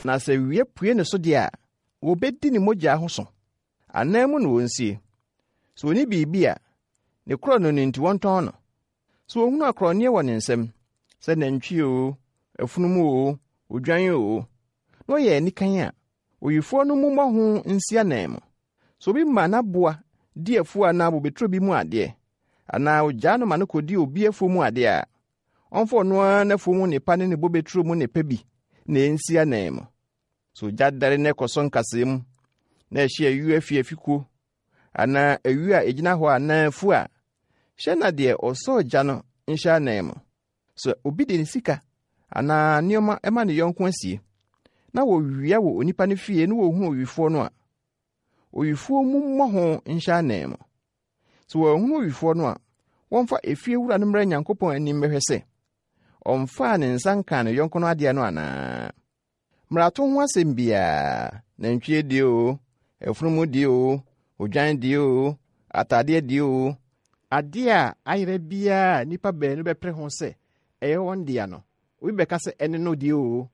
Na sɛ wia pue ne so deɛ a, wɔbɛdi ne mogya ho so. Anan mu na wɔnsie. Sɛ ɔnni biribi a, ne korɔno no nti wɔntɔn no. Sɛ wɔhunu akorɔnneɛ wɔ ne nsam, sɛ nantwie oo, afunumu oo, odwan oo, na ɔyɛ anikan a, owifoɔ no mmu mmɔ ho nsi ananmu. Sɛ obi ma n'aboa di afuo anaa bobeturo bi mu adeɛ, anaa ɔgyaa no ma no kɔdi obi afuo mu adeɛ a, ɔmfa ɔno ara n'afuo mu nnepa ne ne bobeturo mu nnepa bi na ɛnsi ananmu. Sɛ ogya dɛre na ɛkɔsɔ nkasɛɛ mu, na ɛhye ayuo afiafikuo, anaa ayuo a ɛgyina hɔ anaa afuo a, hyɛ na deɛ ɔsɔɔ gya no nhyɛ ananmu. Sɛ obi de ne sika anaa nneɛma ma ne yɔnko asie, na wɔwia wɔ onipa no fie na wɔhunu owifoɔ no a, owifoɔ mu mmɔ ho nhyɛ ananmu. Sɛ wɔanhunu owifoɔ no a, wɔmfa efiewura no mmra Nyankopɔn anim mmɛhwɛ sɛ ɔmfaa ne nsa nkaa ne yɔnko no adeɛ no anaa. Mmarato ho asɛm biara, nantwie deɛ oo, afunumu deɛ oo, odwan deɛ oo, ataadeɛ deɛ oo, adeɛ a ayera biara a nnipa baanu bɛpere ho sɛ ɛyɛ wɔn dea no, obi bɛka sɛ ɛne no deɛ oo,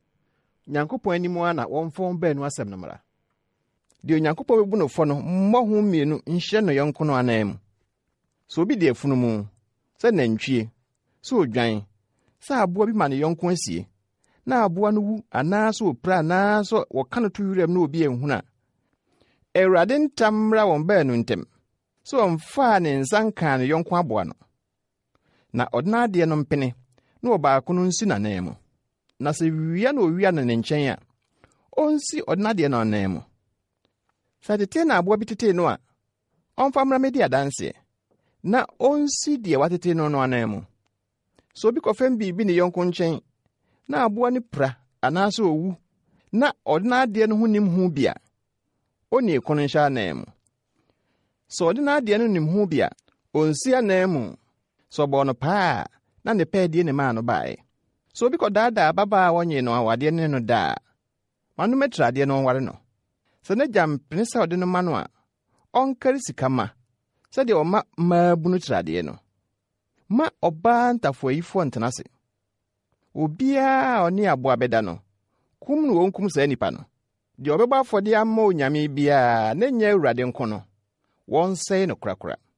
Nyankopɔn anim ara na wɔmfa wɔn baanu asɛm no mmra. Deɛ Onyankopɔn bɛbu no fɔ no mmɔ ho mmienu nhyɛ no yɔnko no ananmu. Sɛ obi de afunumu, sɛ nantwie, sɛ odwan, sɛ aboa bi ma ne yɔnko asie, na aboa no wu anaasɛ opira anaasɛ wɔka no to wiram na obi anhunu a, Awurade ntam mmra wɔn baanu ntam sɛ ɔmfaa ne nsa nkaa ne yɔnko aboa no. Na ɔde n'adeɛ no mpene na ɔbaako no nsi n'ananmu. Na sɛ wia na owia no ne nkyɛn a, ɔnsi ɔde n'adeɛ no ananmu. Sɛ tetee na aboa bi tetee no a, ɔmfa mmra mmɛdi adanseɛ, na ɔnsi deɛ watete no no ananmu. Sɛ obi kɔfɛm biribi ne yɔnko nkyɛn na aboa no pira anaasɛ owu na ɔde n'adeɛ no ho nim ho bi a, onii ko no nhyɛ ananmu. Sɛ ɔde n'adeɛ no nim ho bi a, ɔnsi ananmu. Sɛ ɔbɔɔ no paa a, na ne pɛɛdie ne maa no baeɛ. Sɛ obi kɔdaadaa ababaa a wɔnyee no awadeɛ ne no da a, ma no mmɛtra adeɛ na ɔnware no. Sɛ n'agya mpene sɛ ɔde no ma no a, ɔnkari sika ma, sɛdeɛ ɔma mmaabunu tradeɛ no. Mma ɔbaa ntafoayifoɔ ntena ase. Obiara a ɔne aboa bɛda no, kum na wɔnkum saa nipa no. Deɛ ɔbɛbɔ afɔdeɛ ama onyame biara na ɛnyɛ Awurade nko no, wɔnsɛe no korakora.